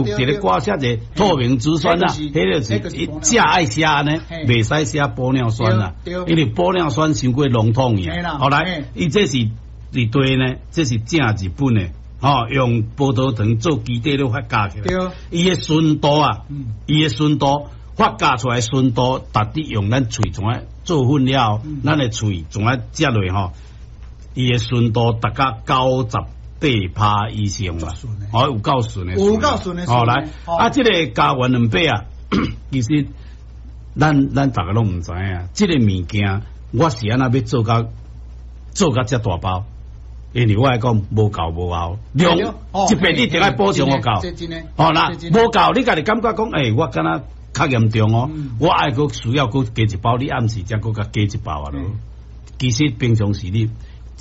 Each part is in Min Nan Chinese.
有一个歌寫者透明質酸啊，彼個是食愛寫按呢，袂使寫玻尿酸啦，因為玻尿酸傷過籠統去。後來，伊這是佇對呢，這是正日本的，吼，用葡萄糖做基底咧發酵起來。伊的純度啊，伊的純度發酵出來純度，逐日用咱喙怎啊做粉了，咱的喙怎啊食落吼，伊的純度達到98%以上啦，哦，有夠純的，有夠純的。好來，啊，這個膠原蛋白啊，其實咱逐家攏毋知影，這個物件我是按怎欲做甲遮大包？因為我愛講無夠無後量，這邊你一定愛補充予夠。哦啦，無夠你家己感覺講，欸，我敢若較嚴重哦，我愛閣需要閣加一包，你暗時才閣共加一包啊囉。其實平常時你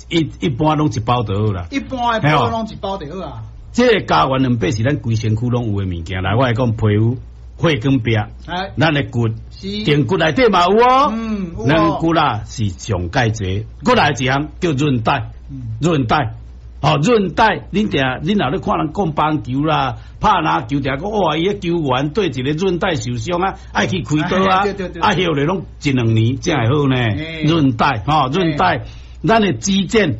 一般攏一包就好啦。一般的包攏一包就好啊。這個膠原蛋白是咱規身軀攏有的物件。來，我來講皮膚血管壁，咱的骨，脛骨內底嘛有哦。咱骨啦是上蓋濟，閣來一項叫韌帶，韌帶，哦，韌帶，恁定恁若咧看人講棒球啦，拍籃球，定講哇，伊个球員對一個韌帶受傷啊，愛去開刀啊，啊，歇咧攏一兩年才會好呢。韌帶，吼，韌帶，咱的肌腱，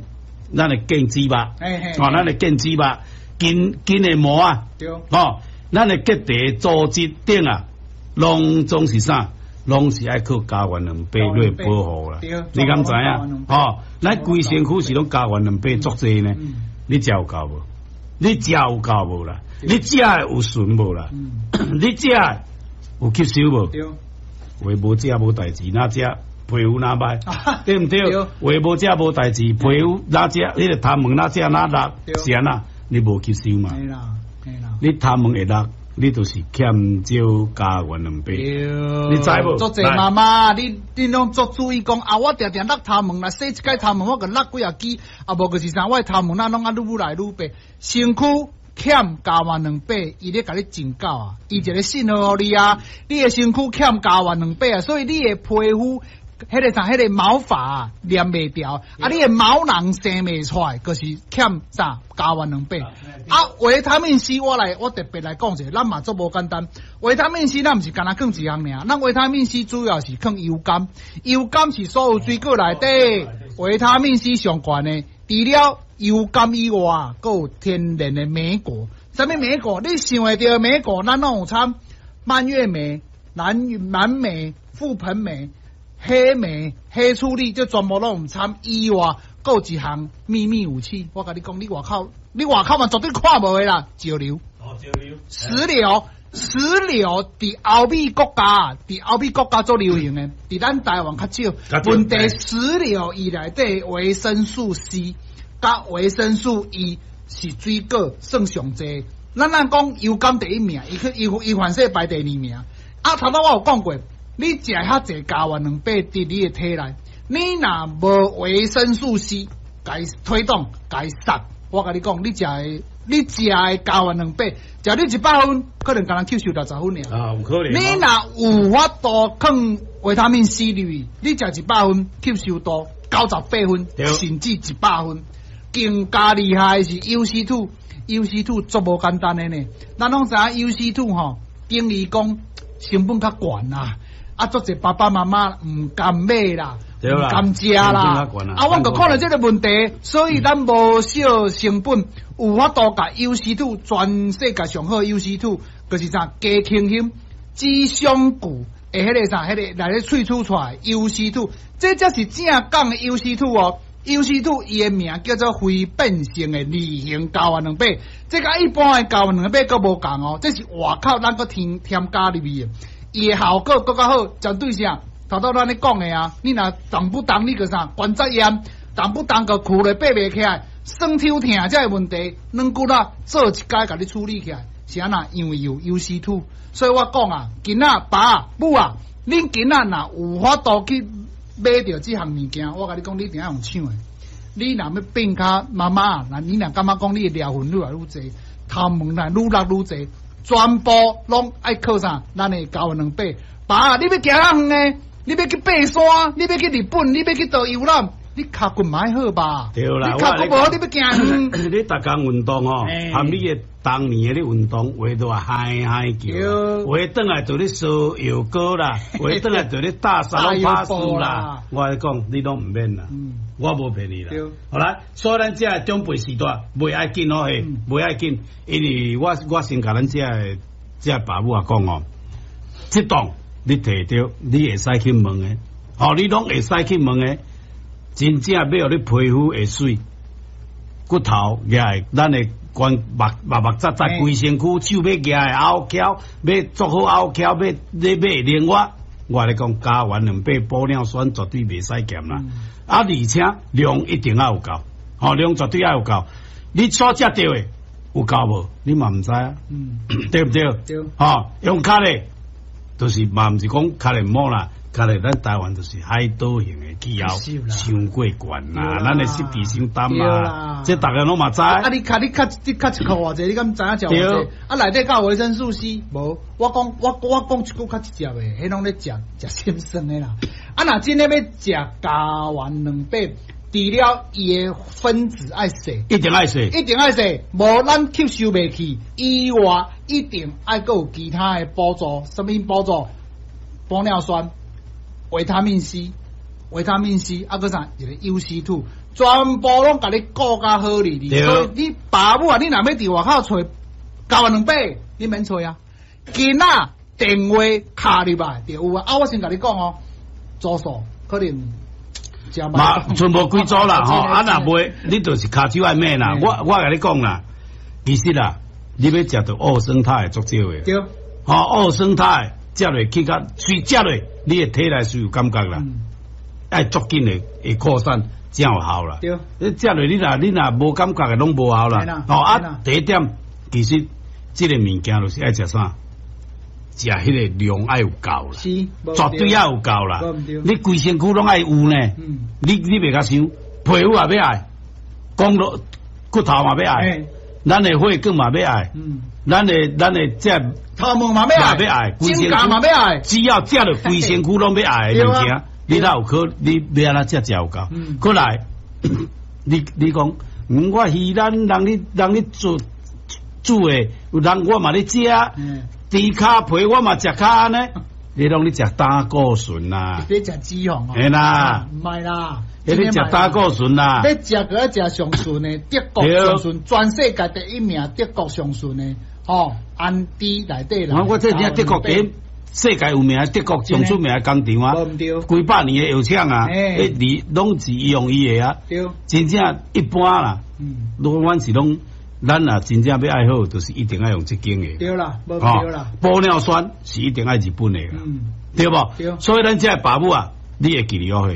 咱的腱肌肉，哦，咱的腱肌肉，筋的膜啊，哦，咱的結締組織等啊，攏總是啥？攏是愛靠膠原蛋白來保護啦。你敢知影？吼，咱規身軀是攏膠原蛋白足濟呢。你食有夠無？你食有夠無啦？你食的有純無啦？你食的有吸收無？話無食無代誌，若食皮膚若歹，對毋對？話無食無代誌，皮膚若食，彼個頭毛若食若落，是按怎？你無吸收嘛？你頭毛會落，你就是欠少膠原蛋白。你知無？足濟媽媽，你攏足注意講啊！我定定落頭毛，若洗一擺頭毛，我就落幾仔支，啊無就是啥？我的頭毛若攏啊愈來愈白，身軀欠膠原蛋白，伊咧共你警告啊！伊一個信號予你啊！你的身軀欠膠原蛋白啊，所以你的皮膚彼個啥，彼個毛髮黏袂牢，啊，你的毛囊生袂出來，就是欠啥膠原蛋白。啊，維他命 C 我來，我特別來講一下，咱嘛足無簡單。維他命 C 咱毋是干焦囥一項爾，咱維他命 C 主要是囥油柑，油柑是所有水果內底維他命 C 上懸的。除了油柑以外，閣有天然的莓果。啥物莓果？你想會著莓果，咱攏有摻蔓越莓、藍莓、覆盆莓、黑莓、黑醋栗，這全部攏有摻以外，閣有一項秘密武器。我共你講，你外口你外口嘛絕對看無的啦，石榴。哦，石榴。石榴，石榴佇歐美國家，佇歐美國家足流行的，佇咱台灣較少。問題石榴伊內底維生素 C 佮維生素 E 是水果算上濟。咱講油柑第一名，伊去伊伊凡勢排第二名。啊，頭拄我有講過，你食遐濟膠原蛋白佇你的體內，你若無維生素 C，共伊推動，共伊殺，我共你講，你食的膠原蛋白，食你100分，可能干焦吸收60分爾。啊，有可能。你若有法度囥維他命 C 入去，你食一百分，吸收度98分，甚至100分。更加厲害的是 UC2，UC2 足無簡單的呢。咱攏知影 UC2 吼，等於講成本較懸啦。啊，足濟爸爸媽媽毋甘買啦，毋甘食啦。啊，阮就看著這個問題，所以咱無惜成本，有法度共 UC2 全世界上好 UC2，就是啥加輕險、紫雙固的彼個啥，彼個來咧萃取出來 UC2，這才是正港的 UC2 哦。UC2 伊的名叫做非變性的二型膠原蛋白，這佮一般的膠原蛋白閣無仝哦，這是外口咱閣添加入去的，伊的效果閣較好，針對啥？頭拄咱咧講的啊，你若動不動你個啥關節炎，動不動就跍咧爬袂起來，酸抽疼這个問題，軟骨啊做一工共你處理起來，是按怎？因為有 UC2，所以我講啊，囡仔爸母啊，恁囡仔若有法度去買著這項物件，我共你講，你一定愛用搶的。你若欲變較媽媽，若你若感覺講你的療痕愈來愈濟，頭毛若愈落愈濟，全部攏愛靠啥？咱的膠原蛋白。爸，你欲行較遠的，你欲去爬山，你欲去日本，你欲去佗遊覽，你跤骨嘛愛好吧？對啦，你跤骨無好，你欲行遠。你逐工運動吼，含你的當年的咧運動，話都話嗨嗨叫，話轉來就咧燒藥膏啦，話轉來就咧打沙龍巴斯啦。我來講，你攏毋免啦，我無騙你啦。好啦，所以咱這个長輩時代袂愛緊哦，嘿，袂愛緊，因為我先共咱這个爸母仔講哦，這檔你提著，你會使去問的，吼，你攏會使去問的。真正欲予你皮膚會媠，骨頭也會，咱的關目目目扎扎規身軀，手欲舉會拗翹，欲做好拗翹，欲你欲會靈活。我共你講，膠原兩百玻尿酸絕對袂使減啦。啊，而且量一定愛有夠，吼，量絕對愛有夠。你所食著的有夠無？你嘛毋知啊？對毋對？對。吼，用較咧，就是嘛毋是講較咧毋好啦。較咧，咱台灣就是海島型的氣候，傷過懸啦，咱的濕氣傷重啦，這逐家攏嘛知。啊，你較一箍偌濟，你敢知影食偌濟？啊，內底敢有維生素 C？無，我講一句較直接的，彼攏咧食食心酸的啦。啊，若真的欲食膠原兩百，除了伊的分子愛細，一定愛細，一定愛細，無咱吸收袂去以外，一定愛閣有其他的輔助，啥物輔助？玻尿酸。維他命 C，維他命 C，啊，閣啥一個 UC2，全部攏共你顧甲好哩哩。所以你爸母啊，你若欲佇外口揣膠原兩百，你免揣啊。囡仔電話敲入來就有啊。啊，我先共你講哦，組數可能嘛，剩無幾組啦吼。啊，若袂，你就是跤手愛買啦。我共你講啦，其實啦，你欲食著奧生態足少的。對。吼，奧生態。食落去較隨食落，你的體內是有感覺啦，愛足緊的會擴散，才有效啦。對，你食落你若無感覺的，攏無效啦。哦啊，第一點，其實這個物件就是愛食啥？食彼個量愛有夠啦，絕對愛有夠啦。你規身軀攏愛有呢。你袂共想，皮膚也欲愛，講落骨頭嘛欲愛，咱的血管嘛欲愛，咱的這頭毛嘛欲愛，指甲嘛欲愛，只要食著規身軀攏欲愛的物件，你哪有可你欲按怎食才有夠？過來，你講，我魚蛋人咧煮煮的，有人我嘛咧食，豬跤皮我嘛食較按呢，你攏咧食膽固醇啦？你食脂肪哦？嘿啦，毋係啦，你食膽固醇啦？你食閣愛食上純的德國上純，全世界第一名德國上純的，吼，安迪內底啦。我這聽德國第一世界有名，德國上出名的工廠啊，幾百年的藥廠啊，彼攏是用伊的啊。真正一般啦，如果阮是攏，咱若真正欲愛好，就是一定愛用這間的。對啦，無對啦。玻尿酸是一定愛日本的啦，對無？所以咱這爸母啊，你會記得哦，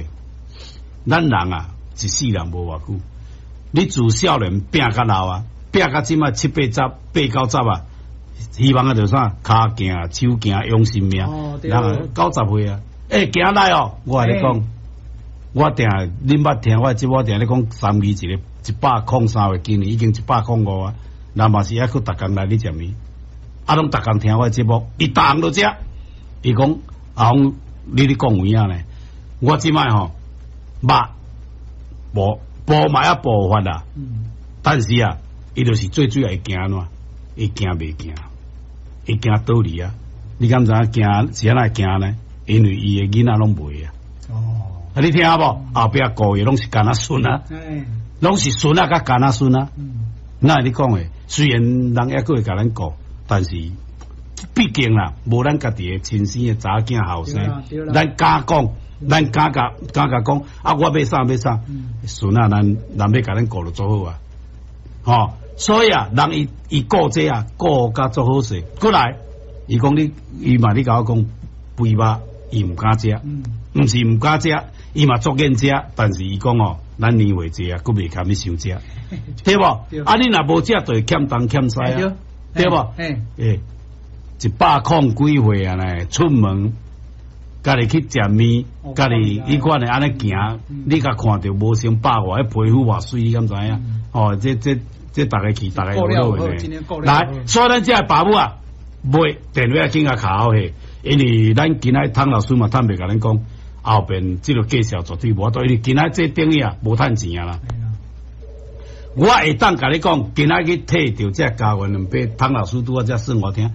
咱人啊，一世人無偌久，你自少年拼甲老啊，拼甲這擺七八十、八九十啊，希望啊就啥，跤行、手行、養生命，人90歲啊，欸，行來哦，我共你講，我定恁捌聽我這我定咧講三二一个103歲，今年已經105啊，人嘛是猶閣逐工來咧食麵，啊，攏逐工聽我節目，伊逐項都食，伊講阿峰，你咧講有影呢？我這擺吼肉無無嘛猶步法啦，但是啊，伊就是最主要會驚按怎？伊驚袂行，伊驚倒離啊！你敢知影驚是按怎驚呢？因為伊的囡仔攏袂啊！哦，啊，你聽無？後壁顧的攏是干仔孫啊，攏是孫仔佮干仔孫啊。那你講的，雖然人猶閣會共咱顧，但是畢竟啦，無咱家己的親生的查某囝後生，咱敢講，咱敢共敢共講啊！我欲啥欲啥，孫仔咱人欲共咱顧就足好啊！吼，所以啊，人伊伊顧這啊，顧甲足好勢。過來，伊講你，伊嘛你共我講肥肉，伊毋敢食，毋是毋敢食，伊嘛足願食，但是伊講哦，咱年歲濟啊，閣袂堪欲傷食，對無？啊，你若無食，就會欠東欠西啊，對無？欸，100幾歲啊呢，出門家己去食麵，家己彼款的按呢行，你共看著無成百外，彼皮膚偌媠，你敢知影？哦，這逐家去，逐家有好的。來，所以咱這爸母啊，買電話緊共敲好勢，因為咱今仔湯老師嘛坦白共咱講，後邊這个介紹絕對無法度，因為今仔這等於啊無趁錢啊啦。我會當共你講，今仔去提著這膠原蛋白，湯老師拄仔才算我聽。